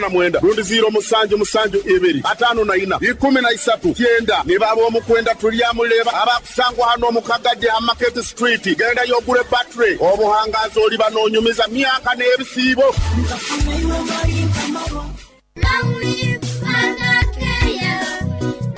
Na mwenda rundi ziiro musanju musanju ibiri ataano na ina ikumi na isatu kyenda. Nibo ab'omukwenda tulyamuleba abakusangwa hano omu Kagadi ha Market Street. Gendayo ogure battery obuhangazi oliba n'onyumiza myaka n'ebisiibo.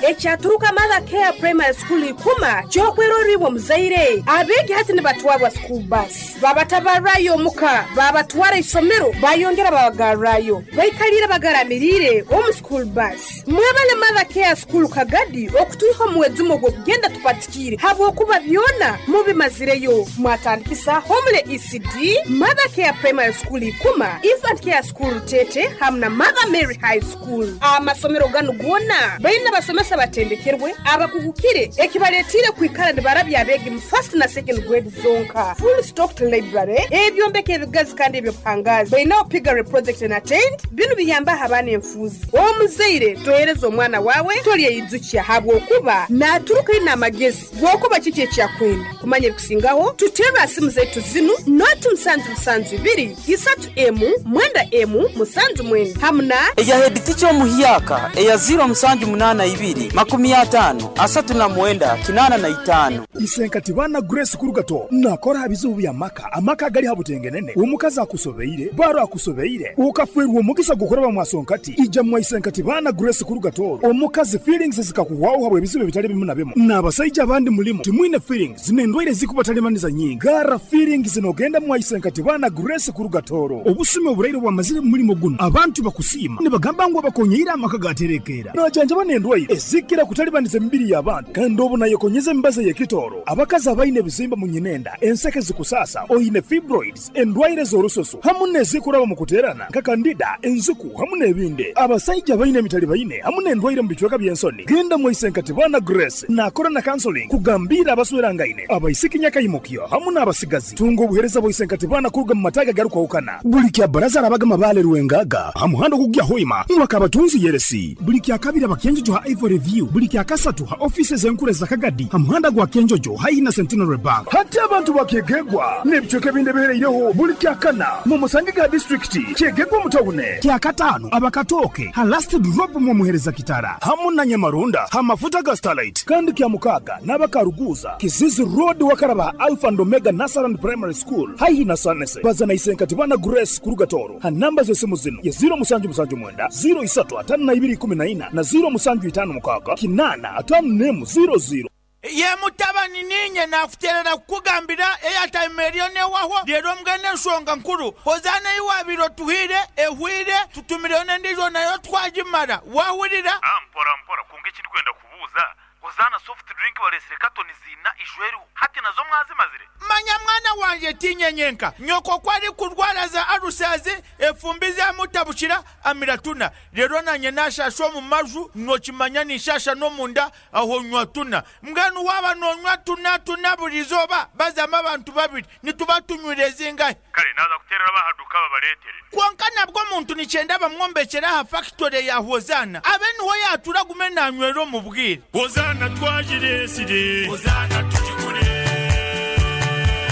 Ekyaturuka Mother Care Primary School Ikuma ky'okwerora iwe omuzaire. Abeegi hati nibatwarwa school bus. Babatabarrayo omuka, babatwara isomero, bayongera babagarrayo. Baikalire bagaramiriire omu school bus. Mwebale Mother Care School Kagadi okutwiha omu mwejumo gw'okugenda tupatikiire habwokuba byona mubimazireyo. Mwatandikisa Homely ECD, Mother Care Primary School Ikuma, Infant Care School Rutete hamu na Mother Mary High School. Amasomero ganu goona baine abasomesa abatendekerwe abakuhukire ekibaletiire kwikara nibarabya abeegi mu first na second grade zonka. Full stocked library, ebyombeko ebigazi kandi eby'obuhangazi. Bainaho piggery project na tent, binu biyambaho abaana enfuuzi. Omuzaire tohereza omwana waawe tolyeyijukya habwokuba naaturuka aine amagezi g'okuba kiki eki akwenda. Kumanya ebikusingaho tuteerre aha simu zaitu zinu noti musanju musanju ibiri isatu emu mwenda emu musanju mwenda hamu na. Eya headteacher omuhyaka eya ziro musanju munana ibiri makumi atano asatu na mwenda kinana na itano. Isenkati baana Grace Kurugato nakora aha bizibu by'amaka, amaka agali ha butengenene, omukazi akusobeire, baro akusobeire, okafeerwa omugisa gw'okuraba mwasonkati, ija mwa Isenkati baana Grace Kurugato, omukazi feelings zikakuhwaho habw'ebizibu ebitali bimu na bimu, n'abasaija abandi mulimu timwine feelings n'endwaire ezikubatalibaniza nyingi, garra feelings n'ogenda mwa Isenkati baana Grace Kurugatoro. Obusumi oburaire bwamazire mu mulimo gunu, abantu bakusiima nibagamba ngu abakonyeire amaka gaterekeera. Najanjaba n'endwaire ezikira kutalibaniza emibiri y'abantu kandi obu nayekonyeza emibazi ey'ekitooro. Abakazi abaine ebizimba mu nyinenda, enseke zikusaasa, oine fibroids, endwaire z'orususu hamu n'ezikuraba mu kuteerana nka kandida, enziku hamu n'ebindi. Abasaija abaine emitalibaine hamu n'endwaire mu bicweka by'ensoni, genda mwa Isenkatibana Grace naakora na counseling kugambiira abaswerangaine, abaisiki nyakaimukyo hamu n'abasigazi. Tunga obuheereza bwa Isenkatibana kuruga mu mataaga agarukwahukana. Buli kya baraza arabaga Mabale Rwengaga ha muhanda ogugya Hoima mwaka abatunzi Yeresi. Buli kya kabiri abakenjojo ha Ivory View. Buli kya kasatu ha office z'enkuru za Kagadi ha muhanda gwa Kenjojo haihi na Centenary Bank. Hati abantu bakyegegwa n'ebicweka ebindi ebihereireho buli kya kana mu musange ga district kyegegwa mu tawune. Kya katano abakatooke ha last drop mu muhereza kitara hamu na Nyamarunda ha mafuta ga Starlight. Kandi kya mukaga n'abakaruguza Kizizi Road wakaraba Alpha and Omega Nursery Primary School haihi na Sanese. Baza na Isenkatibana Grace Kurugatoro ha namba z'esimu zino ya ziro musanju musanju mwenda ziro isatu atano na ibiri ikumi na ina na ziro musanju itano mukaga kinana atano nemu ziro ziro. Ye mutabani ninye nakuterera kukugambira airtime eriyo newahwa rero mbwene enshonga nkuru Hozaana ei wabaire otuhaire ehweire tutumireyo n'endiijo nayo twagimara wahurira. Mpora mpora kwonka eki ndikwenda kubuuza Hozaana soft drink bareetsire katoni ziina ijo eriho hati nazo mwazimazire? Manya mwana wangye tiinye nyenka nyoko ku arikurwara za alusazi efumbi zamutabukira amira tuna reero nanye nashasha omu maju nokimanya ninshasha n'omunda aho nywa tuna mbwenu waaba nonywa tuna tuna buri izooba bazamu abantu babiri nituba tunywire zingahi? Kare naaza kuteerera ab'aha duuka babareetere. Kwonka nabwo omuntu nikyenda bamwombekyere aha fakitore ya Hozaana abe niho yaatura agume nanywera omu bwire. Hozaana twagireetsire. Hozaana tugigure.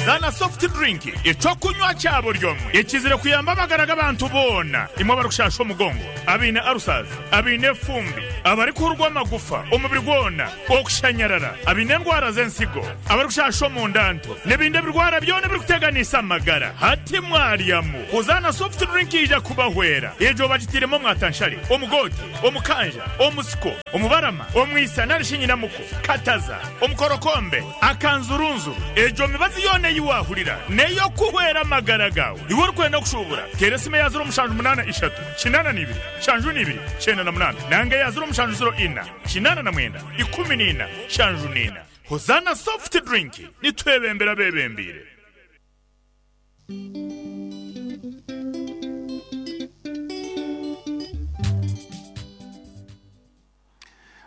Zana soft drink eky'okunywa kya buri omwe ekizire kuyamba amagara g'abantu boona imwe abarikushasha omugongo, abaine ulcers, abaine efumbi, abarikuhurwa amagufa omubiri gwona, okushanyarara, abaine endwara z'ensigo, abarikushasha omunda nto n'ebindi ebirwara byona ebirikuteganisa amagara. Hati mwaryamu Hozaana soft drink eija kubahwera. Egyo bagitairemu omwatanshare, omugoote, omukanja, omusiko, omubarama, omwisa nari shi nyinamuko, kataza, omukorokombe, akanzurunzuru. Egyo mibazi yoona ei waahurira n'ey'okuhwera amagara gaawe. Iwe orikwenda kushuubura, teera esimu eya ziro mushanju munaana ishatu, kinaana na ibiri, nshanju na ibiri, kyenda na munaana nanga eya ziro mushanju ziro ina, kinaana na mwenda, ikumi na ina, nshanju na ina. Hozaana Soft Drink, nitwebembera abeebembeire.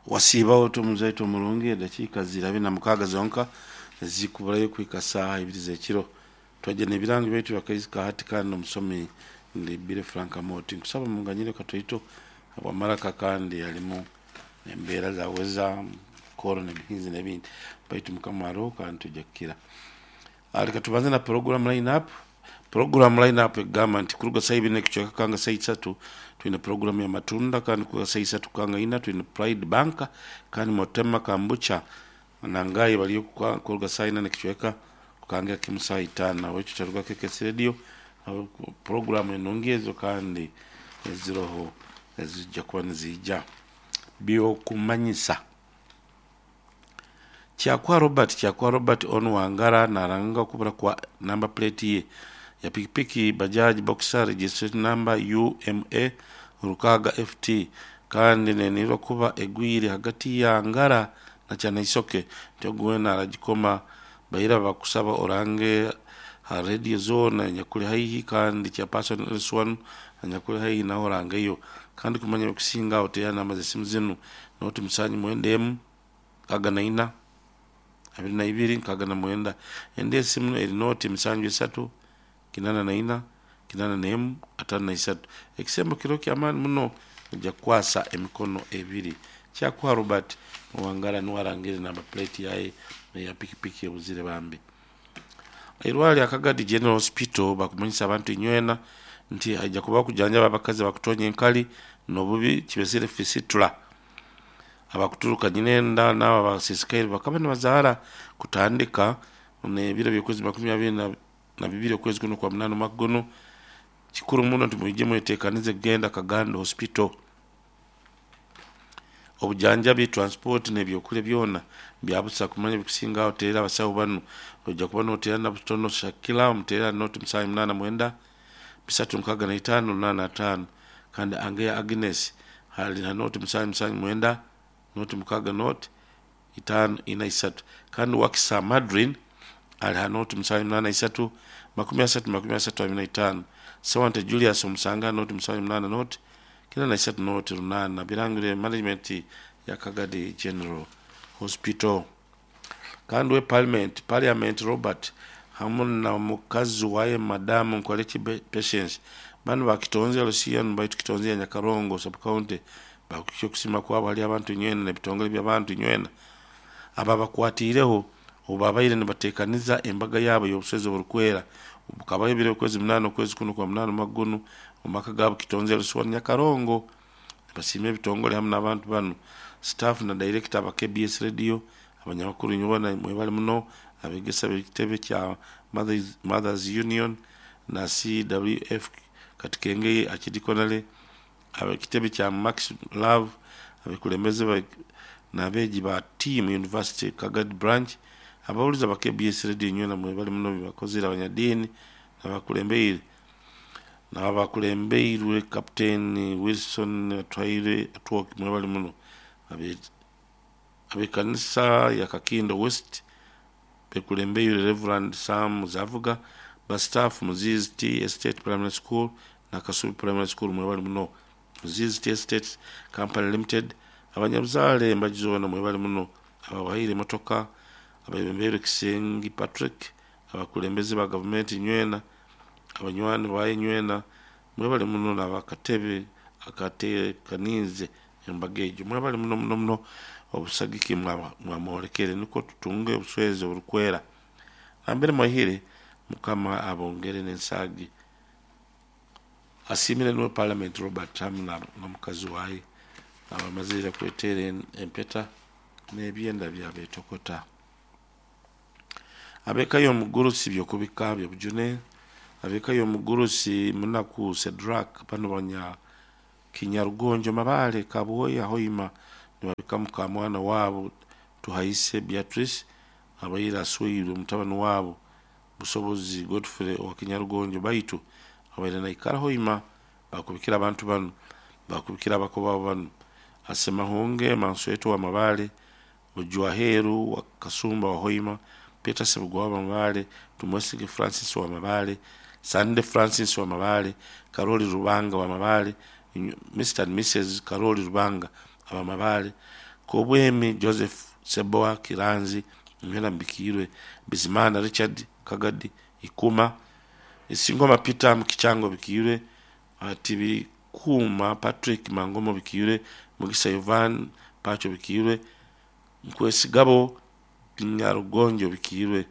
Wasiiba ota omuzaito omurungi? Edakiika ziri abiri na mukaaga zonka ezikuburayo kuhika saaha ibiri z'ekiro. Twaija n'ebirango byaitu by'akaizi ka hati kandi omusomi ndi Billy Frank Amooti. Nkusaba munganyire katoito habw'amaraka kandi halimu embeera za weza, kooro n'emihinzi n'ebindi. Baitu Mukama aroho kandi twija kukira. Leka tubanze na program line up. Program line up egamba nti kuruga saa ibiri n'ekicweka kanga saa isatu twine program ya matunda, kandi kuruga saa isatu kanga ina twine Pride Bank, kandi Motema Kambucha nangayi baliyo kuruga saa ina n'ekicweka kukangira kimu saa itaano. Nahabwekyo kyaruga KKS Radio program enungi ezo kandi eziroho ezijja kuba niziija byokumanyisa. Kyakwa Robert Kyakwa Robert onu Wangara naranga okubura kwa number plate ye ya pikipiki Bajaj Boxer registration number UMA Rukaga FT kandi nenirwa kuba egwire hagati ya Ngara na Kyanaisoke nti ogu wena aragikoma baira bakusaba orange ha radio zoona enyakuli haihi kandi chairperson LS1 anyakuli haihi nawe orangeyo kandi kumanya ebikusinga aho teera namba z'esimu zinu noti musanju mwenda emu nkaaga na ina abiri na ibiri nkaaga na mwenda endi esimu eri noti musanju isatu kinana na ina kinana n'emu ataano na isatu. Ekisembo kiro ky'amaani muno ojja kukwasa emikono ebiri. Kyakuha Robert Owangara nuwe arangire namba plate yaye eya pikipiki ebuzire bambi. Eirwariro lya Kagadi General Hospital bakumanyisa abantu inywena nti haija kubaho kujanjaba abakazi abakutonya enkali n'obubi kibesire fistula abakuturuka nyinenda n'abo abasisikaire bakaba nibazaara kutandika n'ebiro by'okwezi 22 okwezi kuno kwa munaana omwaka gunu. Kikuru muno nti mwije mwetekanize kugenda Kagando Hospital. Obujanjabi, transport n'ebyokulya byona byabusa. Kumanya ebikusinga aho teera abasawo banu ojja kuba noteera Nabutono Shakila omuteera noti musanju munaana mwenda bisatu nkaaga na itaano lunaana ataano kandi Angeya Agnes ali na noti musanju musanju mwenda noti mukaaga noti itaano ina isatu kandi Wakisa Madrine ali ha noti musanju munaana isatu 30 35 Sewante Julius omusanga noti musanju munaana noti kenda na isatu noti lunaana birangire management ya Kagadi General Hospital. Kandi we parliament Robert hamu na mukazi waye madamu Nkoleki Patience banu bakitonze Lucian baitu kitonze ya Nyakarongo sub county bakukya okusima kwabo hali abantu nywena n'ebitongole by'abantu nywena aba bakwatiireho obu babaire nibateekaniza embaga yaabo y'obuswezi oburukwera bukabaho ebiro okwezi munaana okwezi kunu kwa munaana omwaka gunu omu maka gaabo Kitonze Lusiwa Nyakarongo. Nibasiima ebitongole hamu n'abantu banu staff na director aba KBS Radio abanyamakuru inywena mwebale muno abegesa b'ekitebe kya Mothers Union na CWF Katikengeye Archidiaconale ab'ekitebe kya Max Love abekulembeze n'abeegi ba Team University Kagadi Branch abahulizi aba KBS Radio inywena mwebale muno bibakozire abanyadiini n'abakulembeirwe Captain Wilson Atwaire Atwoki mwebale muno ab'ekanisa ya Kakindo West bekulembeirwe Reverend Sam Zavuga ba staff Muzizi Tea Estate Primary School na Kasubi Primary School mwebale muno Muzizi Tea Estate Company Limited abanyabuzaale embaju zoona mwebale muno ababahaire emotoka abebembeirwe Kisengi Patrick abakulembeze ba gavumenti nywena abanywani baye nywena mwebale muno n'abakatebe akateekaniize embaga egyo mwebale muno muno muno obusagiki mwamwolekere nukwo tutunge obuswezi oburukwera nambere mwahire Mukama abongere n'ensaagi. Asiimire nuwe Parliament Robert hamu n'omukazi waye abamazire kweteera empeta n'ebyenda byabetokota. Ab'eka y'omugurusi byokubika byobujune ab'eka y'omugurusi Munaku Cedrak banu banya Kinyarugonjo Mabale Kabwoya Hoima nibabika muka mwana waabo Tuhaise Beatrice abaire asweirwe mutabani waabo Busobozi Godfrey owa Kinyarugonjo baitu abaire naikara Hoima bakubikira abantu banu bakubikira abako baabo banu Asemahunge Mansweto wa Mabale Ojwaheru wa Kasumba wa Hoima Peter Sebugwa wa Mabale Tumwesige Francis wa Mabale Sande Francis wa Mabale Karoli Rubanga wa Mabale Mr. and Mrs. Karoli Rubanga aba Mabale Kobwemi Joseph Seboa Kiranzi Nywena Mbikirwe Bizimana Richard Kagadi Ikuma Isingoma Peter Mukichango Bikirwe Atibi Kuma Patrick Mangomo Bikirwe Mugisa Ivan Pacho Bikirwe Nkwesigabo Kinyarugonjo Bikirwe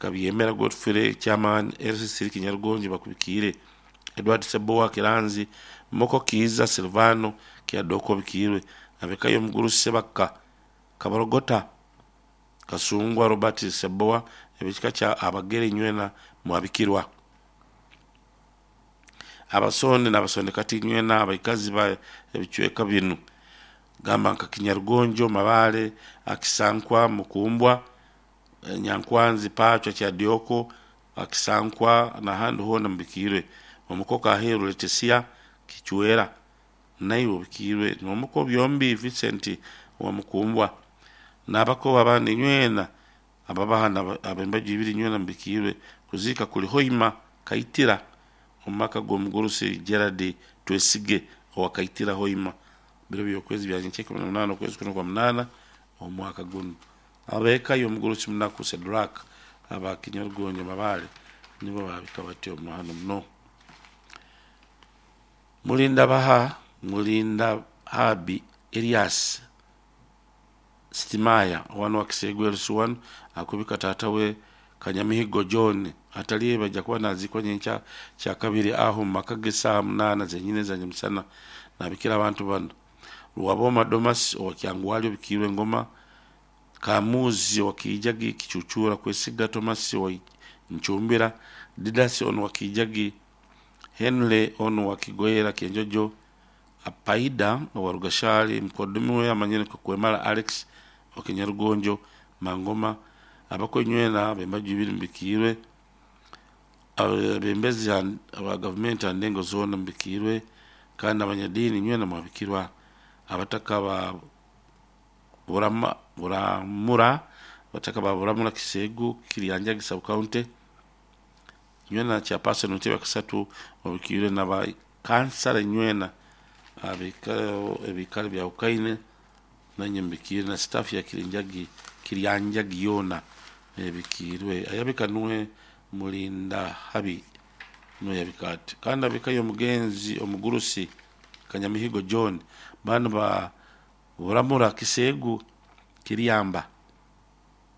Kabyemera Godfrey chairman LC Kinyarugonje bakubikiire Edward Sebowa Kiranzi Moko Kiiza Silvano Kyadoko bikiirwe abekayo omuguru Sebaka Kabarogota Kasungwa Robert Sebowa ebikika kya Abagere nywena mwabikirwa Abasonde n'abasonde kati nywena abaikazi ba ebicweka binu gamba nka Kinyarugonjo, Mabale, Akisankwa, Mukumbwa, Nyankwanzi, Pachwa, Kyadioko, Akisankwa n'ahandi hoona mubikiirwe. Omukoka Aheru Leticia Kichwera naiwe obikiirwe n'omuko byombi Vincent owa Mukumbwa n'abakoba abandi nywena ababahana ab'embaju ibiri nywena mubikiirwe. Kuziika kuli Hoima Kaitira omu maka g'omugurusi Gerard Twesige owa Kaitira Hoima biro by'okwezi bya nyenkya 18 okwezi kuno kwa munaana omwaka gunu. Ab'eka y'omugurusi Munaku Sedrak aba Kinyarugonjo Mabale nibo babika batyo hano muno. Mulinda Baha Mulinda Habi Elias Sitimaya wano wa Kisegwe LC1 akubika tata we Kanyamihigo John ataliye bajja kuba nazikwa nyenkya kya kabiri aho mu maka ge saaha munaana zenyine za nyamusana nabikira abantu bano Rwaboma Domas owa Kyangwali obikiirwe Ngoma Kamuzi owa Kiijagi Kicucura Kwesiga Thomas owa Nchumbira Didas ono wa Kiijagi Henry ono wa Kigoyera Kyenjojo Apaida owa Rugashali mukoddomi we amanyire nka Kwemara Alex owa Kinyarugonjo Mangoma abakonywena b'embaju ibiri mubikiirwe abembezi aba gavumenti aha ndengo zoona mubikiirwe kandi abanyadiini nywena mwabikirwa abataka ba Burama, Buramura abataka ba Buramura Kisegu Kiryanjagi sub county nywena chairperson w'entebe yakasatu obikiirwe n'aba kansara nywena ebikaro byahukane nanye mbikiirwe na staff ya Kirinjagi Kiryanjagi yoona ebikiirwe ayabika nuwe Mulinda Habi nuwe yabika ati kandi abikayo omugenzi omugurusi Kanyamihigo John banu ba Buramura Kisegu Kiryamba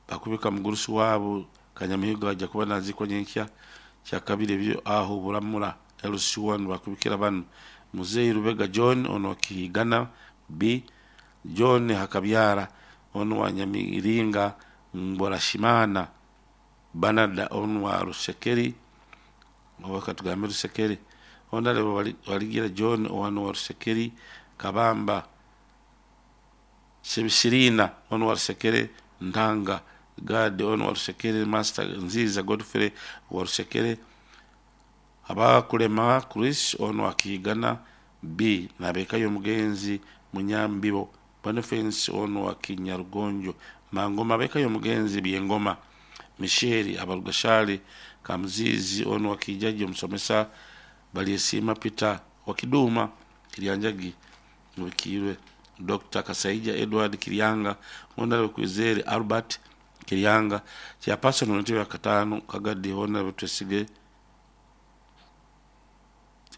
bakubika mugurusi wabo Kanyamihigo ajja kuba nazikwa nyenkya kya kabiri ebyo aho Buramura LC1 bakubikira banu Muzeyi Rubega John ono wa Kihigana B John Hakabyara ono wa Nyamiringa Mborashimana Banada ono wa Rusekeri owa katugambe Rusekeri Honorable Waligira John ono wa Rusekeri Kabamba Sebisirina ono wa Rusekere Ntanga Gad ono wa Rusekere Master Nziza Godfrey wa Rusekere Abakulema Chris ono wa Kihigana B nabekayo omugenzi Munyambibo Boniface ono wa Kinyarugonjo Mangoma abekayo omugenzi Byengoma Michel Abarugashali Kamuzizi ono wa Kijaji omusomesa Baliesima Peter wa Kiduma Kiryanjagi mubikiirwe Dr. Kasaija Edward Kiryanga Honorable Kwizere Albert Kiryanga chairperson w'entebe ya katano Kagadi Honorable Twesige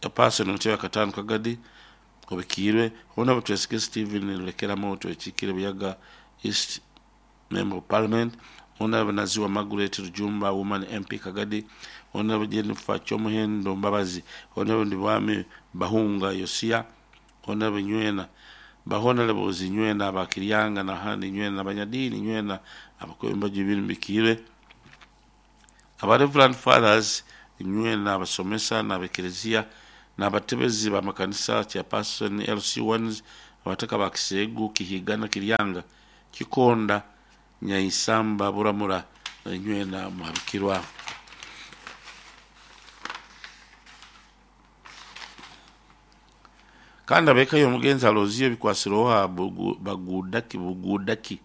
chairperson w'entebe ya katano Kagadi obikiirwe Honorable Twesige Stephen Lurekeramu Twekikire Buyaga East Member of Parliament Honorable Naziwa Margaret Rujumba Woman MP Kagadi Honorable Jennifer Chomuhendo Mbabazi Honorable Ndibwami Bahunga Yosia Honorable Nywena Bahonorables nywena abakiryanga n'ahandi nywena abanyadiini nywena abakwembaju ibiri mbikiirwe aba Reverend Fathers nywena abasomesa n'abekereziya n'abatebezi b'amakanisa chairperson LC1s abataka ba Kisegu Kihigana Kiryanga Kikonda Nyaisamba Buramura nywena mwabikirwa. Kandi abekayo omugenzi Aloziyo bikwasiroha bagudaki bugudaki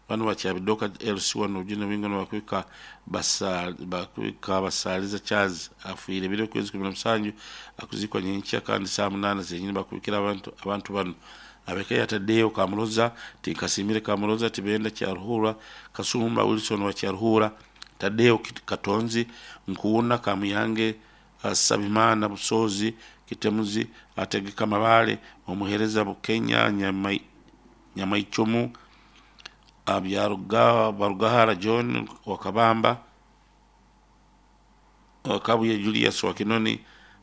bano bakyabidoka LC1 ojune wingo bakwika bakwika basaliza Charles afuire biro kwezi 17 akuzikwa nyenkya kandi saa 8 zenyine bakubikira abantu bano abekayo Tadeo Kamuroza Tikasimire Kamuroza Tibenda Kyaruhura Kasumba Wilson wa Kyaruhura Tadeo Katonzi Nkuuna Kamuyange Sabimana Busozi Kitemuzi Ategeka Mabale omuhereza Bukenya Nyamaichomu Abyarugahara John Wakabamba Kabuye Julius wa Kinoni,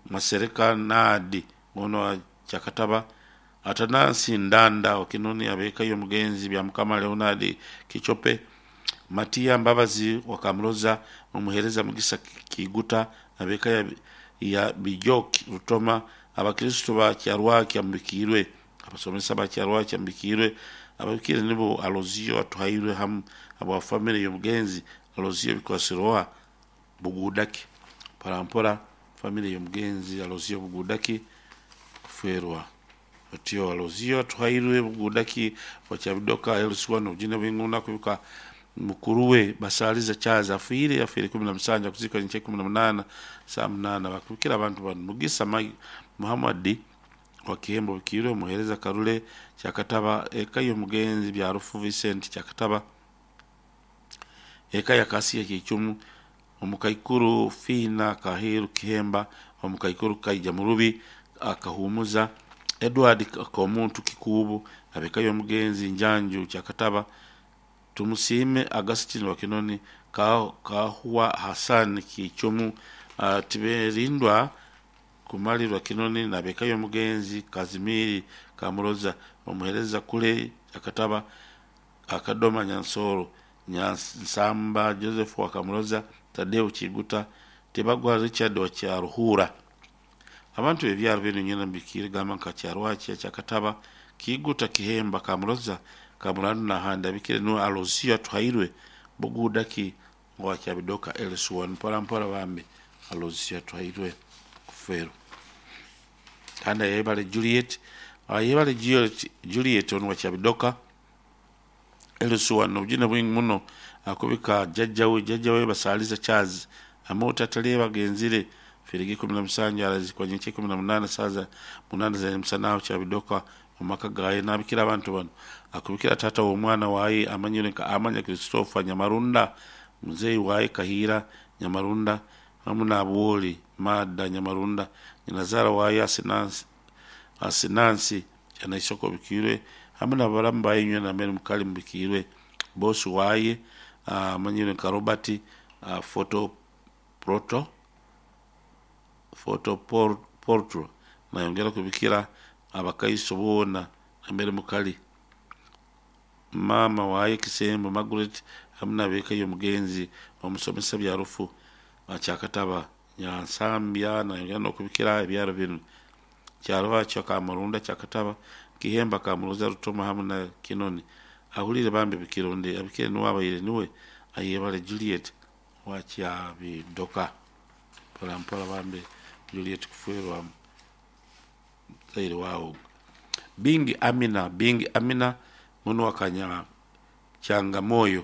Masereka Nadi ono wa Kyakataba, Atanasi Ndanda wa Kinoni, abeka y'omugenzi bya Mukama Leonard Kichope, Matia Mbabazi wa Kamroza, omuhereza Mugisa Kiguta, abeka ya Bijoki Rutoma, abakristo ba Kyarwaki ambikirwe, abasomesa ba Kyarwaki ambikirwe, ababikire nibo Alozio atuhairwe hamu aba family y'omugenzi Alozio Bikwasiroa Bugudaki mpora family y'omugenzi Alozio Bugudaki kuferwa otyo Alozio atuhairwe Bugudaki wakyabidoka eluswa nobujine bwinguna kubika mukuru we basaliza chaza afiire 17 kuzika nche 18 saa 8 bakubikira abantu bano Mugisa Muhammad wa Kihembo bikirwe muhereza Karule Kyakataba eka y'omugenzi bya Rufu Vincent Kyakataba eka ya Kasiya Kichumu omukaikuru Fina Kahiru Kihemba omukaikuru Kaija Murubi akahumuza Edward Komuntu Kikubu abeka y'omugenzi Njanju Kyakataba Tumusime Agustin wa Kinoni Kahuwa Hassan Kichumu Tiberindwa kumalirwa Kinoni na beka y'omugenzi Kazimiri Kamuroza omuhereza kule Kyakataba Akadoma Nyansoro Nyansamba Joseph wa Kamuroza Tadeo Chiguta Tebagwa Richard wa Kyaruhura. Abantu ebyaro bino nyina mbikire gamba nka Kyarwaki Kyakataba Kiguta Kihemba Kamuroza Kamurandu na handa bikire no Alozio atuhairwe Bugudaki wa Kyabidoka LS1 mpora mpora bambe Alozio atuhairwe kufero kanda yebale Juliet ayebale Juliet ono wa Kyabidoka LS1 nobujina bwingi muno akubika jajjawe basaliza Charles amota taliye bagenzire firigi 17 arazikwa nyenche 18 saza 8 za msana Kyabidoka omaka gaye nabikira abantu bano akubikira tata w'omwana waye amanyire nka Amanya Christopher Nyamarunda muzeyi waye Kahira Nyamarunda hamu na Abuoli Mada Nyamarunda nyinazara waye Asinansi Kyanaisoko bikirwe hamu na balamu baye nywe na Mary Mukali mbikirwe bosi waye amanyire nka Robert Photo Proto Photo Portro nayongera kubikira abakaiso boona na Mary Mukali mama waye Kisembo Margaret hamu nabeka y'omugenzi omusomesa bya rufu Kyakataba Nyansambya nayongera n'okubikira ebyaro bino Kyarwakyo Kamurunda Kyakataba Kihemba Kamuroza Rutoma hamu na Kinoni ahulire bambi bikironde abikire niwabaire niwe ayebale Juliet wa Kyabidoka mpola mpola bambi Juliet kuferwa zaire wawo Bingi Amina muno wakanya Changamoyo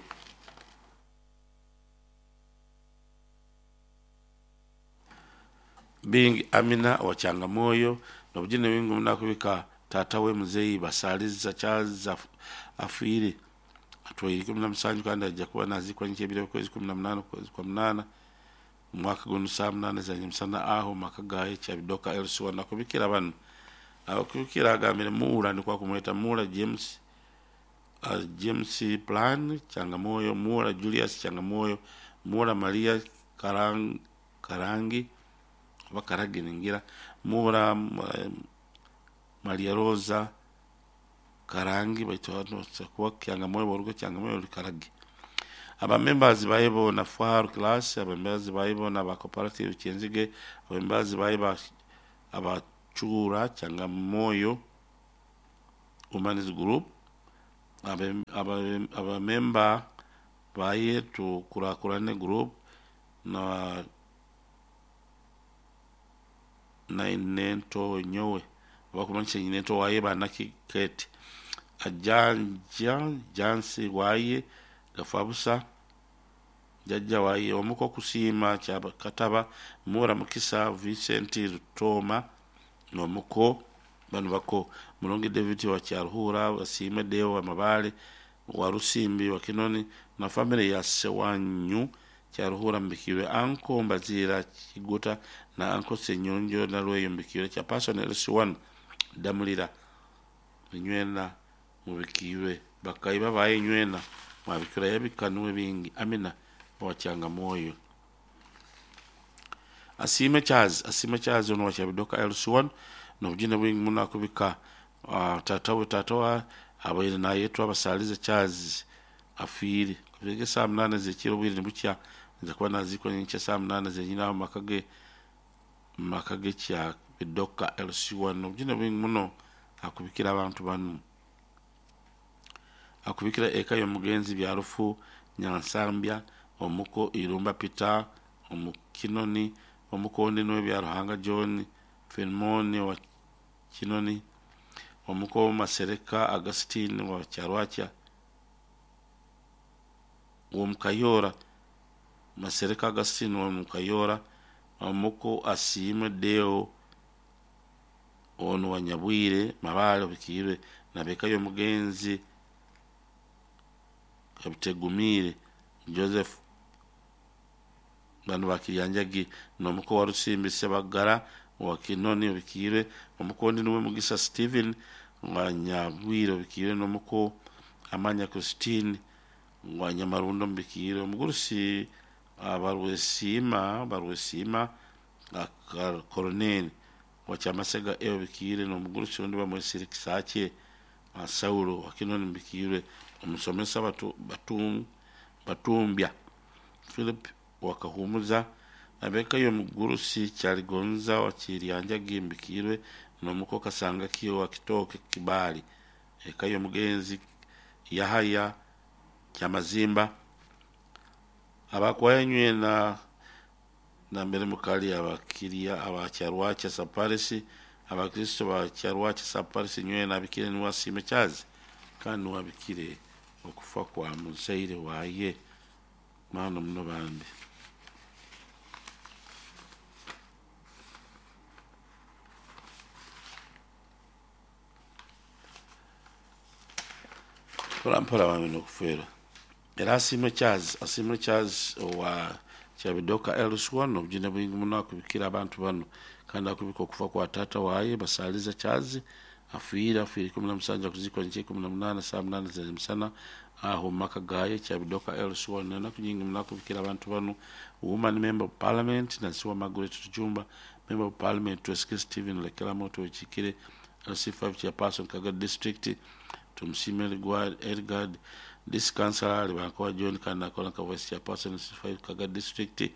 Bingi Amina wa Changamoyo nobujine wingu munakubika tata we muzeyi basaliza Charles afiire atwaire 17 kandi ajja kuba nazikwa nkyebire kwezi 18 kwezi kwa 8 mwaka guno saa 8 za nyamusana aho maka gaye Kyabidoka LC1 nakubikira bano abakubikira agambire Mura ndikwa kumweta Mura James James Plan Changamoyo Mura Julius Changamoyo Mura Maria Karangi abakaragi ningira Mura Maria Rosa Karangi baitu kuwa Changamoyo borugo Changamoyo Karagi aba members bayibo na Far class aba members bayibo na ba cooperative Kyenzige aba members bayibo abachura Changamoyo Women's Group aba member baye tu kurakurane group na nainento nyowe bakumanisha nyinento waye banaki kete ajanja jansi waye gafabusa jajja waye omuko kusiima Kyakataba Mura Mukisa Vincent Rutoma nomuko bano bako Mulongi David wa Kyaruhura Basime Deo wa Mabale wa Rusimbi wa Kinoni na family ya Sewanyu Kyaruhura mbikirwe anko Mbazira Kiguta na anko Senyonjo na Lweyo mbikirwe cha person LC1 Damulira nywena mubikirwe bakaiba baye nywena mwabikira yabikanuwe bingi Amina wa Changamoyo. Asiime Charles, Asiime Charles ono wa Kyabidoka LC1 n'obugine bwingi muno akubika taata we taata wa abaire nayetwa Basalize Charles afiire. Afiire saaha munaana ez'ekiro obwire nibukya aija kuba naziikwa nyenkya saaha munaana zenyini aho mumaka ge mumaka ge Kyabidoka LC1 n'obugine bwingi muno akubikira abantu banu. Akubikira eka y'omugenzi Byarufu Nyansambya, omuko Irumba Peter, omu Kinoni, omukondi niwe Byaruhanga John, Filimoni owa Kinoni, omuko Masereka Augustine wa Kyarwakya, w'Omukayora, Masereka Augustine wa Mukayora, omuko Asiimwe Deo ono wa Nyabwire Mabale Obikiirwe n'ab'eka y'omugenzi Kabitegumiire Joseph banu ba Kiryanjagi n'omuko wa Rusimbi Sebagara wa Kinoni Obikiirwe, omukondi niwe Mugisa Stephen wa Nyabwire Obikiirwe n'omuko Amanya Christine wa Nyamarundo Mubikiirwe, omugurusi Barwesiima Barwesiima Koroneri wa Kyamasega A Obikiirwe n'omugurusi ondi bamwesire Kisaakye Saulo wa Kinoni Mubikiirwe, omusomesa Batumbya Philip wa Kahumuza ab'eka y'omugurusi Kyaligonza wa Kiryanjagi Mbikiirwe n'omuko Kasangaki wa Kitooke Kibaali, eka y'omugenzi Yahaya Kyamazimba, abakwaya nywena nambere mukali abakiria aba Kyarwakya Sub-Parish, abakristo ba Kyarwakya Sub-Parish nywena abikire niwe Asiime Charles kandi niwe abikire okufa kwa muzaire waye mwana muno bambi. Mpora mpora bambi n'okufeerwa. Era Asiimwe Charles, Asiimwe Charles owa Kyabidoka LC1 obugine bwingi muno akubikira abantu banu kandi akubika okufa kwa taata waye Basaliza Charles afiire afiire 17 akuziikwa nyenkya 18 saaha munaana z'emisana aho mumaka gaye Kyabidoka LC1 enaku nyingi muno akubikira abantu banu Woman Member of Parliament Nansiwa Margaret Tujumba, Member of Parliament Twesige Stephen Lekelamo Twekiikire LC5 Chairperson Kagadi District Tumusiime Elgard District Councillor Libankowa John kandi nakola nka Vice Chairperson LC5 Kagadi District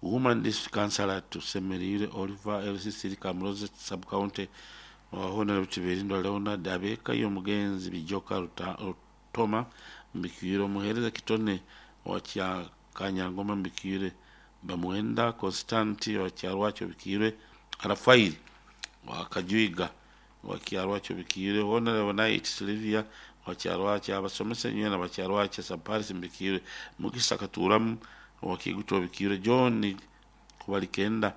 Woman District Councillor Tusemeriire Oliver LC3 Kamuroze Sub County Honorable Tiberindwa Leonard ab'eka y'omugenzi Bijoka Rutoma Mbikiire omuheereza Kitone wa Kanyangoma Mbikiire Bamwenda Constanti wa Kyarwakyo Bikiirwe Rafairi wa Kajwiga wa Kyarwakyo Bikiirwe Honorable Knight Sylvia wa Kyarwakyo abasomesa nywena ba Kyarwakyo Sub-Parish Mbikiirwe Mugisa Katuramu wa Kigutu Bikiirwe John Kubalikenda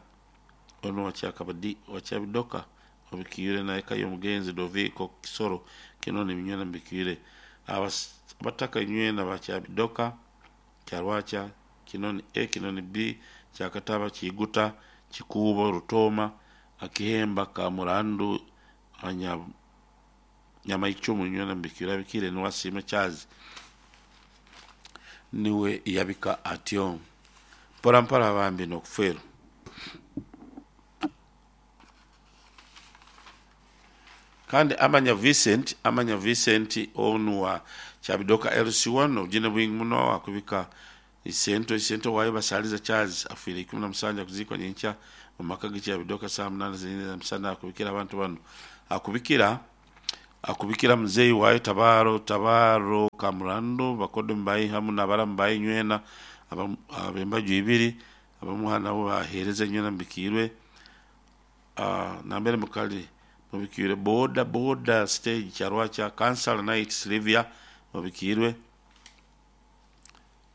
ono wa Kyakabadi wa Kyabidoka Obikiirwe na eka y'omugenzi Doviko Kisoro Kinoni nywena Mbikiirwe abataka nywena ba Kyabidoka Kyarwakya Kinoni A Kinoni B Kyakataba Kiguta Kikuubo Rutoma Akihemba Kamurandu Nyamaichumu nywena Mbikiirwe abikire niwe Asiime Charles niwe yabika atyo mpora mpora bambi n'okufeerwa. Kandi Amanya Vincent, Amanya Vincent onu wa Kyabidoka LC1 obugine bwingi muno akubika isento isento waye Basaliza Charles afiire 17 akuziikwa nyenkya omu maka ge Kyabidoka saaha munaana zenyini ez'emisana akubikira abantu banu akubikira akubikira muzeeyi waye Tabaro Tabaro Kamurando bakodomi baye hamu n'abaramu baye nywena ab'embaju ibiri abamuha nabo baheereza nywena mubikiirwe nambere mukali mubikiirwe boda boda stage Kyarwakya Councillor Knight Sylvia mubikiirwe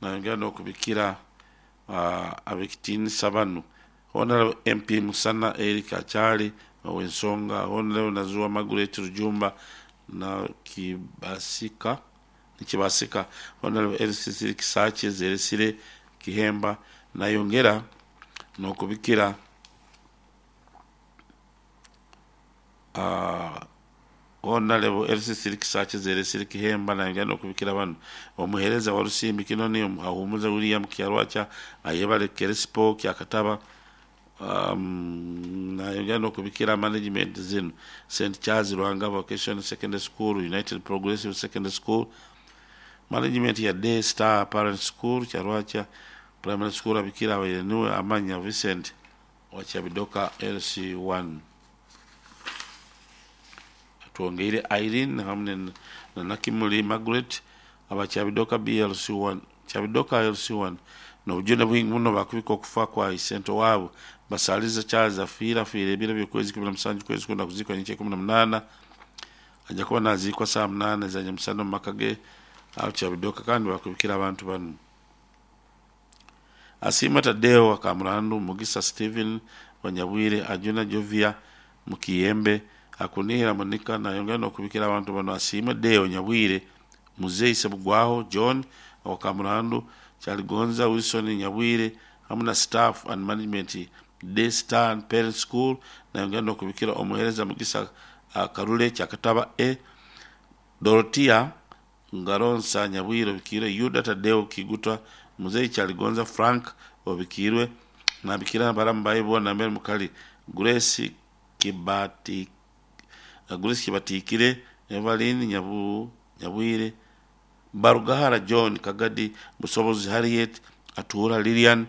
nayongera n'okubikira ab'ekitiinisa banu Honorable MP Musana Eric Achali ow'ensonga Honorable Nazuwa Margaret Rujumba na Kibasika Nikibasika Honorable LCC Kisakye Zeresire Kihemba nayongera n'okubikira Honorable LCC Kisakye Zeresire Kihemba nayongera n'okubikira banu omuheereza wa Rusimbi Kinoni Ahumuza William Kyarwakya Ayebare Keresipo Kyakataba Nayongera n'okubikira management zinu: St Charles Lwanga Vocation Secondary School, United Progressive Secondary School, management ya Day Star Parent School, Kyarwacha Primary School. Abikira abaire niwe Amanya Vincent wa Kyabidoka LC1. Twongeire Irene hamwe na Nakimuli Margaret aba Kyabidoka BLC1, Kyabidoka LC1, n'obujune bwingi muno bakubika okufa kwa isento waabo Basaliza Charles. Afiire afiire ebiro by'okwezi 17 kwezi kunda, kuziikwa nyenkya 18. Ajja kuba naziikwa saa 8 za nyamusana omu maka ge aho Kyabidoka. Kandi bakubikira abantu banu: Asiima Tadeo Akamurandu, Mugisa Stephen Wanyabwire, Ajuna Jovia Mukiyembe, Akunihira Monica. Nayongera n'okubikira abantu bano: Asiima Deo Nyabwire, Muzeyi Sebugwaho John Wakamurandu, Kyaligonza Wilson Nyabwire, hamwe na staff and management Day Star and Parent School. Nayongera n'okubikira omuheereza Mugisa Karule Kyakataba A, Dorotia Ngaronsa Nyabwire obikiirwe, Yuda Tadeo Kiguta, Muzeyi Kyaligonza Frank obikiirwe. Nabikira baramu baye boona mbere mukali: Grace Kibati, Grace Kibatikire, Evelyn Nyabwire, Barugahara John Kagadi, Busobozi Harriet, Atuura Lilian.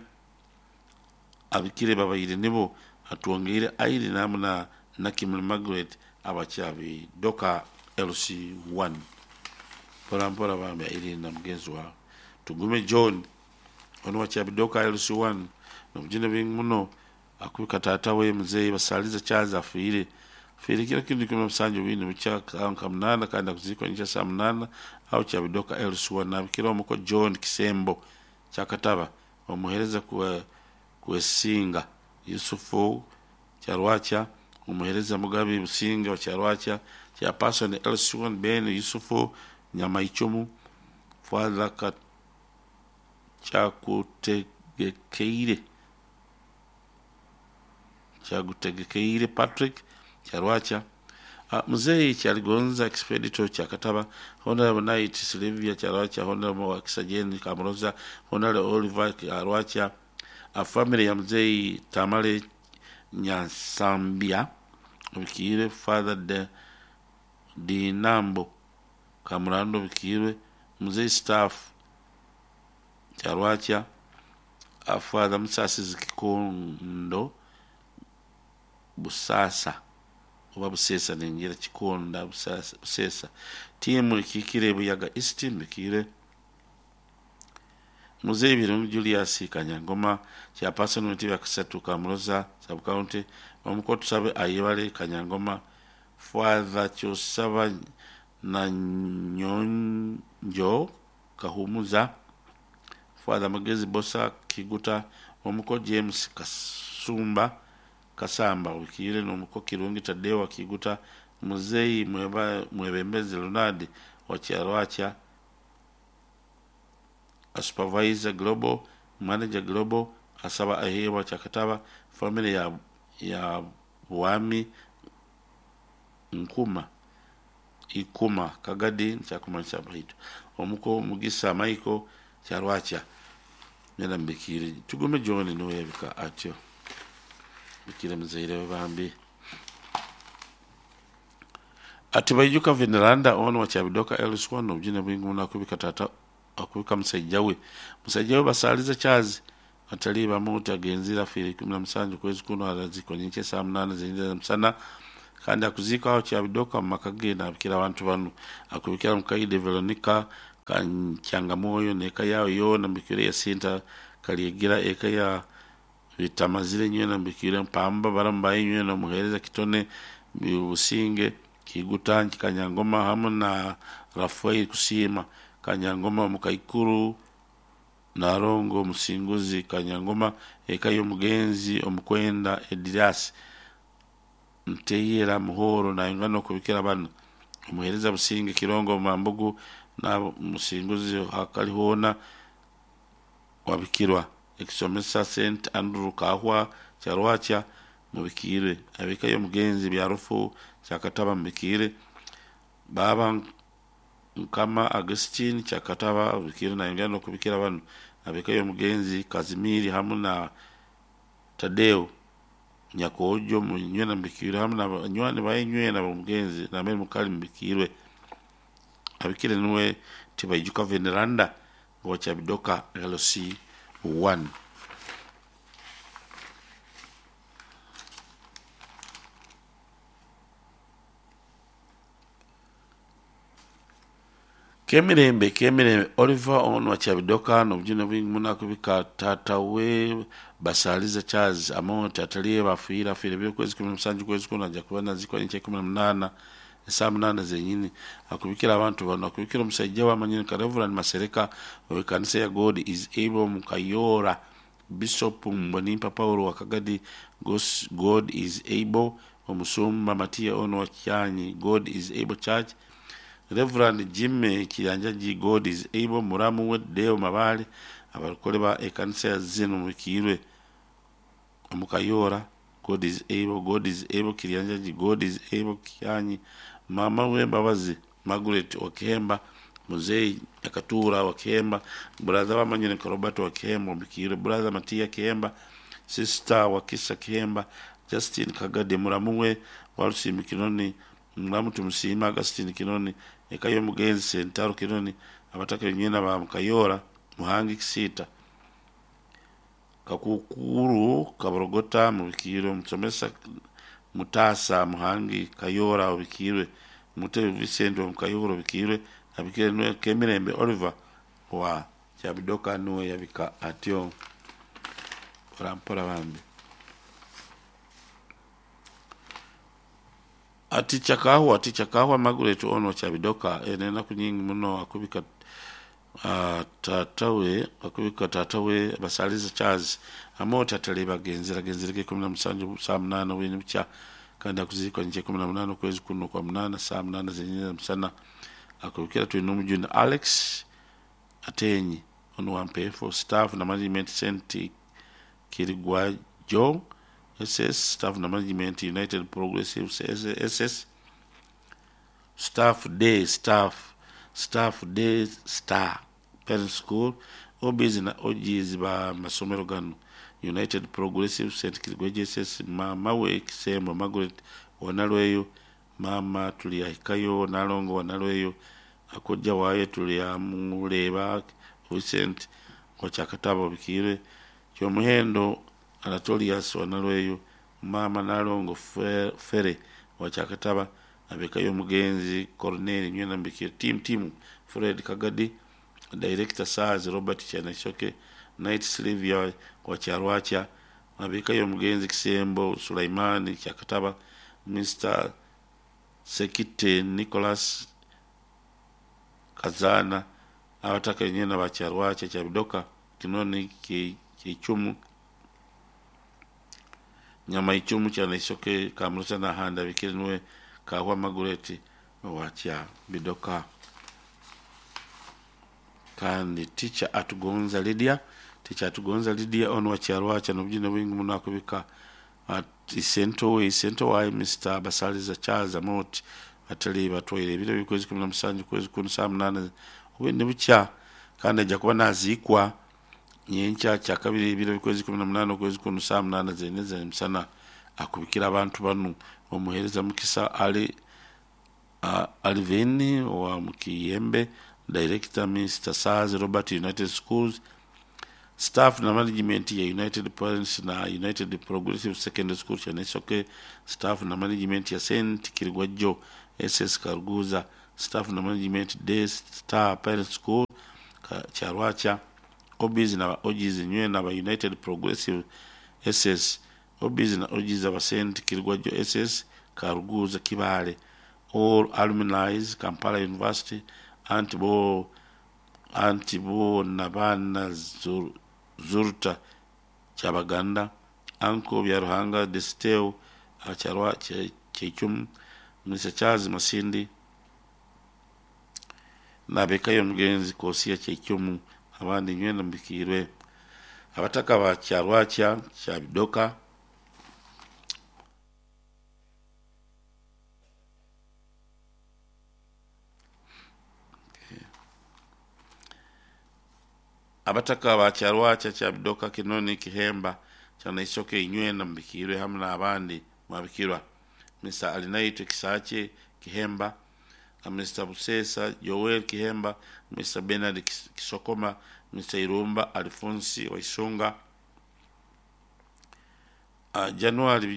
Abikire babaire nibo atwongeire Airi namu na Nakimuli Margaret abakyabidoka LC1. Mpora mpora bambi Airi na mugenzi wawe. Tugume John ono wakyabidoka LC1, nobujune bwingi muno akubika taata we muzeeyi Basaliza Charles. Afiire afiire kiro kindi 17 bwini bukya nka 8, kandi akuziikwa nkya saa 8 aho Kyabidoka LC1. Nabikira omuko John Kisembo Kyakataba, omuheereza Kwesinga Yusufu Kyarwakya, omuheereza Mugabi Businge wa Kyarwakya, chairperson LC1 Ben Yusufu Nyamaichumu, Father Kyakutegekeire, Kyagutegekeire Patrick Kyarwakya, Muzeyi Kyaligonza Expedito Kyakataba, Honorable Knight Sylvia Kyarwakya, Honorable Wakisajeni Kamuroza, Honorable Oliver Kyarwakya, a family ya Muzeyi Tamale Nyansambya obikiire, Father de Dinambo Kamurando obikiirwe, Muzeyi staff Kyarwakya, Father Musasizi Kikondo Busasa oba Busesa, ningira Kikonda Busesa, tiimu ekiikire Buyaga East mbikiire, Muzeyi Birungi Julius Kanyangoma, chairperson w'entebe yakasatu Kamuroza Sub-County, omuko Tusabe Ayebale Kanyangoma, Father Kyosaba Nanyonjo Kahumuza, Father Magezi Bosa Kiguta, omuko James Kasumba Kasamba obikiire, n'omuko Kirungi Tadewa Kiguta, Muzeyi Mwebembezi Leonard wa Kyarwakya, a supervisor global, manager global, asaba aheebwa Kyakataba, family ya Bwami Nkuma Ikuma Kagadi nkyakumanyisa baitu omuko Mugisa Michael Kyarwakya nera mbikiire. Tugume John niwe yabika atyo, bikire muzaire we bambi. Ati baijuka veneranda ono wa Kyabidoka LC1, obujune bwingi muno akubika tata, akubika musajja we Basaliza Charles atali bamuti agenzira afiire 17 kwezi kuno, arazikwa nyenkya saa 8 zenyinza musana, kandi akuziika aho Kyabidoka mu maka ge. Nabikira abantu banu: akubikira Mukaide Veronica Kyangamwoyo n'eka yawe yoona, mbikire Yasinta Kalyegira, eka ya Bitamazire nywena, mbikire Mpamba barambaye nywena, omuheereza Kitone Businge Kiguta Kanyangoma hamwe na Rafael Kusiima Kanyangoma, Mukaikuru Narongo Musinguzi Kanyangoma, eka y'omugenzi omukwenda Edirasi Nteyera Muhoro. Nayongera n'okubikira bano: omuheereza Businge Kirongo Mambugu na Musinguzi hakali hoona wabikirwa, ekisomesa St Andrew Kahwa Kyarwakya mubikiire, abeka y'omugenzi Byarufu Kyakataba mubikiire, Baba Nkama Augustine Kyakataba bikiire. Nayongera n'okubikira bano: abeka y'omugenzi Kazimiri hamwe na Tadeo. Nyakojo nywena mubikirwe hamu nabanywani baye nywena bomugenzi nambere mukali mubikirwe. Abikire nuwe Tibaijuka Veneranda wa Kyabidoka LC 1. Kemirembe Kemirembe Oliver ono wa Kyabidoka nobujune bwingi muno akubika tata we Basaliza Charles Amonte ataliye bafiira afiire byokwezi 17 kwezi kuno ajja kuba nazikwa nkya 18 esaa 8 zenyini. Akubikira abantu bano, akubikira omusajja wamanyini ka Reverend Masereka owekanisa ya God is Able Mukayora, Bishop Mbonimpa Paulo Wakagadi, God is Able omusumba Matiya ono wa Kyanyi God is Able Church, Reverend Jimmy Kiyanjaji God is Able muramu we Deo Mabale abarukole ba ekanisa ya Zeno mubikirwe omukayora God is Able, God is Able Kiyanjaji, God is Able Kyanyi, mama we Mbabazi Margaret Wakihemba, Muzei Akatura Wakihemba, brother wamanyine Robert Wakihemba mubikirwe, brother Matia Kihemba, sister Wakisa Kihemba, Justin Kagade muramu we Walusimbi Kinoni, muramu Tumusiima Augustine Kinoni, eka y'omugenzi Sentaro Kinoni, abataka benywena ba Mukayora Muhangi Kisita Kakukuru Kaborogota mubikirwe, Musomesa Mutasa Muhangi Kayora obikirwe, Mutebi Vincent wa Mukayora obikirwe, abikire nuwe Kemirembe Oliver wa Kyabidoka nuwe yabika atyo orampora bambi. Ati chakahwa Margaret ono Kyabidoka enenaku nyingi muno akubika tatawe akubika tatawe Basaliza Charles Amonte atali bagenzera genzereke 17 saa 8 wini bukya kandi akuzikwa nkya 18 kwezi kuno kwa 8 saa 8 zenyine musana. Akubikira tulina omujuni Alex Atenyi ono wa Mpefo staff na management St Kirigwa Joe SS staff na management United Progressive SS staff day staff staff day star parent school OBs na OGs ba masomero gano United Progressive St Kirigwa JSS mama we Kisembo Margaret Wanalweyo mama tuliyahikayo Nalongo Wanalweyo akojja waaye tuliyamuleba Vincent Wakyakataba obikirwe Kyomuhendo Anatolius Wanalweyo mama Nalongo Fere Wakyakataba abekayo omugenzi Cornel Nywena Mbikire team Fred Kagadi Director Sars Robert Chanashoke Night Sylvia Wakyarwacha abekayo omugenzi Kisembo Sulaimani Kyakataba Mr Sekite Nicholas Kazana abataka nyena Bakyarwacha Kyabidoka Kinoni Kichumu Nyama Ichumu Chanashoke Kamrusa na Handa bikire nuwe Kahwa Margaret Wakyabidoka. Kandi teacher Atugonza Lydia, teacher Atugonza Lydia ono Wakyarwacha nobujine bwingi muno akubika isento wa Mr Basaliza Charles Amoti atali batwaire ebiro bikwezi 17 kwezi kuno saa 8 obwende bukya kandi ajja kuba nazikwa nyenkya kya kabiri ebiro bikwezi 18 kwezi kuno saa 8 zeneze misana. Akubikira abantu banu omuhereza Mukisa Ali Alvini wa Mukiyembe Director Mr Sars Robert United Schools staff na management ya United Parents na United Progressive Secondary School Chanesoke staff na management ya St Kirigwajo SS Karuguza staff na management Day Star Parents School Kyarwacha OBs na OGs nywe na United Progressive SS OBs na OGs aba St Kirigwajo SS Karuguza Kibale all alumni Kampala University antibo nabana Zurta Kyabaganda Anko Byaruhanga Desteo Acharwa Chechum Mr Charles Masindi nabekayo omugenzi Kosia Chechum abandi nywena mbikirwe abataka ba Kyarwacha Kyabidoka. Abataka ba Kyarwacha Kyabidoka Kinoni Kihemba Kyanaisoke inywena mubikirwe hamu n'abandi mwabikirwa. Mr. Alinaitwe Kisakye Kihemba, Mr. Busesa Joel Kihemba, Mr. Bernard Kisokoma, Mr. Irumba Alfonsi Waisunga, January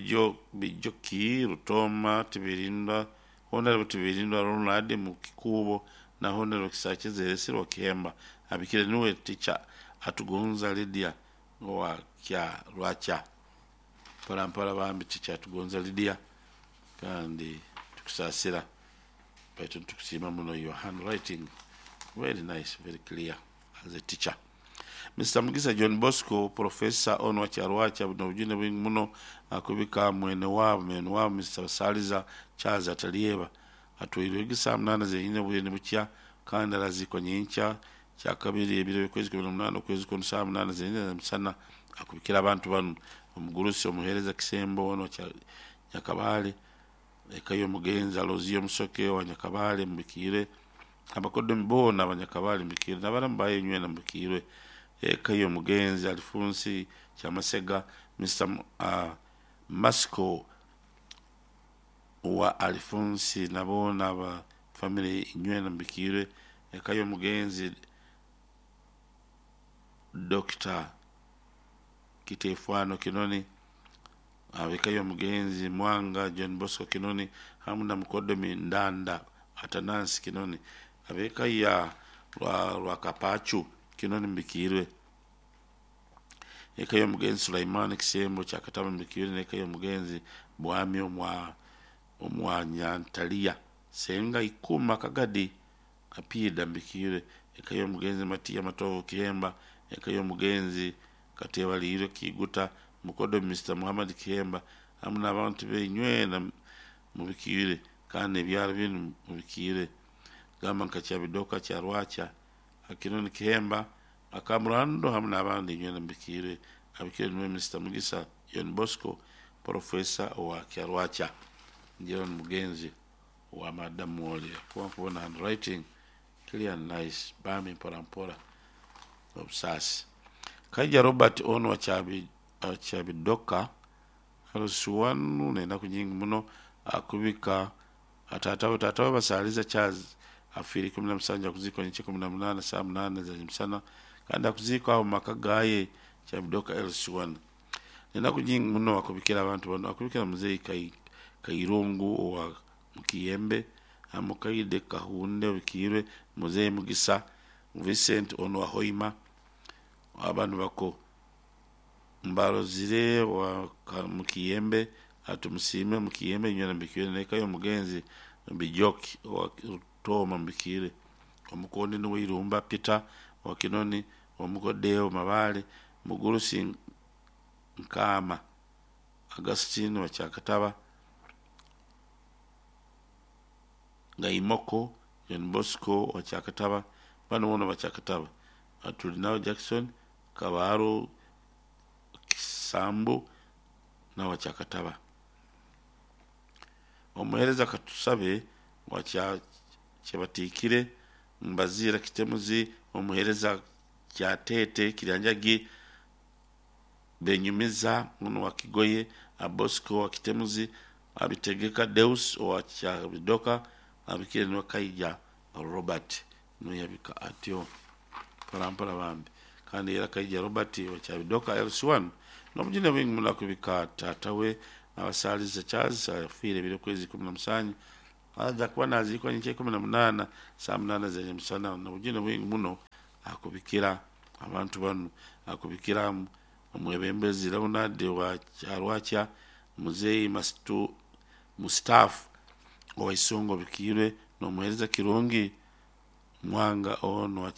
Bijoki Rutoma Tibirindwa, Honorable Tibirindwa Ronald Mukikubo na Honorable Kisakye Zeresirwa Kihemba. Abikire niwe teacher Atugonza Lydia wa kya Rwacha. Mpora mpora bambi teacher Atugonza Lydia, kandi tukusasira baitu tukusiima muno. Your handwriting very nice, very clear as a teacher. Mr. Mugisa John Bosco, Professor ono wa Kyarwacha, buno obujune bwingi muno akubika mwene wabo Mr. Saliza Charles Atalieba atwirwe gisa 8 zenyine bwene bukya kandi arazikwa nyinkya kya kabiri ebiro by'okwezi 18 okwezi kwa 8 zenyine musana akubikira abantu bano omugurusi omuhereza Kisembo ono kya Nyakabale eka y'omugenzi Aloziyo Musoke wa Nyakabale mubikire abakodomi boona abanyakabale mubikire n'abaramu bayo nywena mubikire eka y'omugenzi Alfonsi Kyamasega Mr. Masco wa Alfonsi nabo aba family nywena mubikire eka y'omugenzi Dr. Kitefwano Kinoni abeka y'omugenzi Mwanga John Bosco Kinoni hamu na mukodomi Ndanda Atanasi Kinoni abeka ya Rwakapachu Kinoni mbikirwe eka y'omugenzi Sulaimani Kisembo Kyakataba mbikirwe n'eka y'omugenzi Bwami omwanyantalia Senga Ikuma Kagadi Apida mbikirwe eka y'omugenzi Matiya Matovu Kihemba eka y'omugenzi Katebaliirwe Kiguta mukodo Mr. Muhammad Kihemba hamu n'abantu benywena mubikire kandi ebyaro binu mubikire gamba nka Kyabidoka Kyarwacha Akinoni Kihemba Akamurando hamu n'abandi nywena mubikire abikire niwe Mr. Mugisa John Bosco Professor wa Kyarwacha njero ni mugenzi wa Madam Wole kuba nkubona handwriting clear and nice bambi mpora mpora obusasi Kaija Robert ono wa Kyabidoka alusiwanu nenaku nyingi muno akubika atatawe basaliza Charles afiiri 17 akuzikwa nyiche 18 saa 8 za msana kandi akuzikwa aho maka gaye Kyabidoka LC1 nenaku nyingi muno akubikira abantu bano akubikira muzeyi Kairungu wa Mukiyembe Amukaide Kahunde bikirwe muzeyi Mugisa Vincent ono wa Hoima abantu bako Mbarozire wa Mukiyembe atumusime Mukiyembe nywena mbikire neka yo mugenzi Bijoki wa Rutoma mbikire omukondi niwe Irumba Peter wa Kinoni omukodeo Mabale Mugurusi Nkama Agustine wa Kyakataba Ngaimoko John Bosco wa Kyakataba bano bono wa Kyakataba Atulinao Jackson Kabaro Kisambu na wa Kyakataba omuhereza Katusabe wa Kyabatikire Mbazira Kitemuzi omuhereza Kyatete Kiryanjagi Benyumiza uno wa Kigoye Abosco wa Kitemuzi Abitegeka Deus wa Kyabidoka abikire niwe Kaija Robert nuyabika atyo mpora bambi kandi era Kaija Robert wa Kyabidoka LC1 n'obujune bwingi muno akubika tata we abasaliza Charles afiire ebiro kwezi 17 aza kuba nazikwa nyiche 18 saa 8 zenye musana n'obujune bwingi muno akubikira abantu bano akubikira omwebembezi Leonard wa Kyarwacha muzeyi Mustafa Owaisongo bikirwe n'omuhereza Kirungi Mwanga ono wa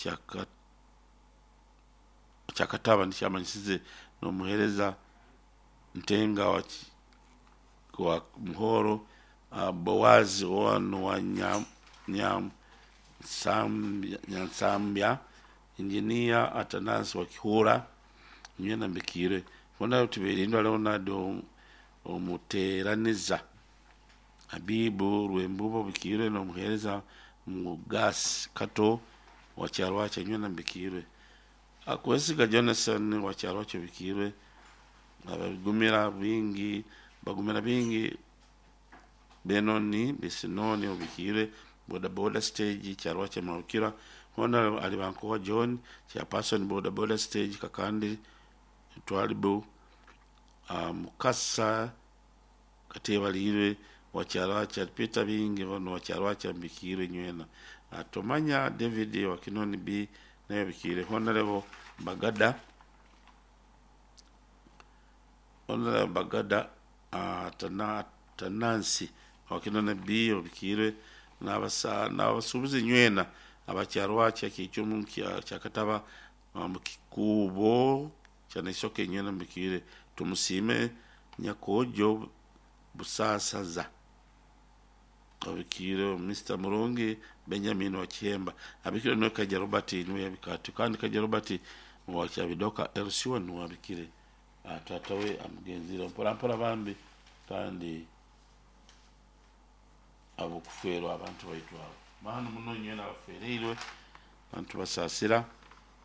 Kyakataba nikyamanyisize n'omuhereza Ntenga wa Muhoro Bowazi ono wa Nyansambya Engineer Atanasi wa Kihura nywena mbikire bona tubirindwa Leonard omuteraniza Habibu Rwembubo bikire n'omuhereza Mugasi Kato wa Kyarwacha nywena mbikire akwesiga Jonathan wa Kyarwacha bikire Abagumira bingi, bagumira bingi Benoni Bisinoni obikire boda boda stage kyarwa kya hona alibankowa John chairperson boda boda stage kakandi twalibu mukasa katebalirwe wakyarwa kya Peter bingi ono wakyarwa kya mbikire nywena atomanya David wakinoni B naye bikire honorable Bagada honorable Bagada Tanansi wakinone B obikire n'abasuubuzi nywena abakyarwa kya kichumu kya kataba mukikubo kyanaisoke nywena mbikire tumusime nyakojo busasaza abikire Mr. Murungi Benjamin Wachemba abikire no Kaja Robert niwe yabikati kandi Kaja Robert wakyabidoka LC1 wabikire tata we amugenzire mpora mpora bambi kandi abokuferwa abantu baitu abo mahano muno nywena abafereirwe abantu basasira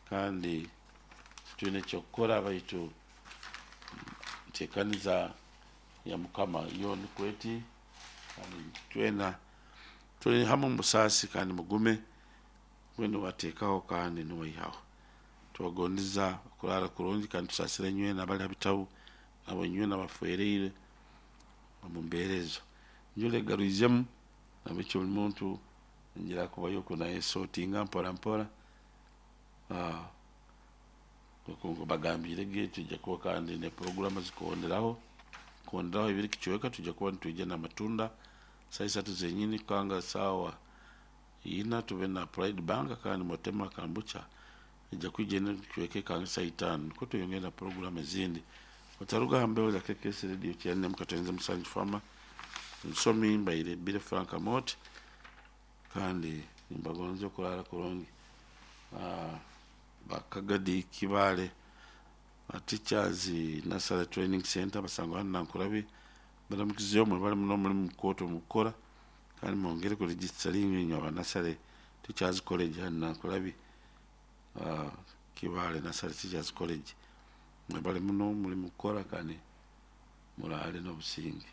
kandi twine kyokukora baitu ntekaniza ya mukama yo nikweti kandi twena tuli hamwe musasi kandi mugume wene wateekaho kandi niwaihaho tubagondeza kurara kurungi kandi tusasire nywena abali habitabu abo nywena bafereire omu mbeera ezo njule garuizemu nabekyo buli muntu ngira kubayo kunayesotinga mpora mpora bagambire ge tujja kuba kandi ne programu zikonderaho konderaho ibiri kichweka tujja kuba nitujja na matunda saa isatu zenyini kanga sawa ina tube na Pride Bank kandi motema kambucha ijja kwijja kichweke kanga saa itano niko tuyongera na programu ezindi otaruga hambeho za KKS Radio kyane mkatenze musanju fama nsomi mbaire bire Frank Amot kandi nimbagonze kurara kurungi bakagadi kibale teachers Nasara Training Center basangwa hano nankurabi baramukizeyo mwe bali muno muri mukoto mukora kandi mwongere ku registering inywa ba Nasara Teachers College hano nankurabi kibale Nasara Teachers College mwe bali muno muri mukora kandi murale no businge.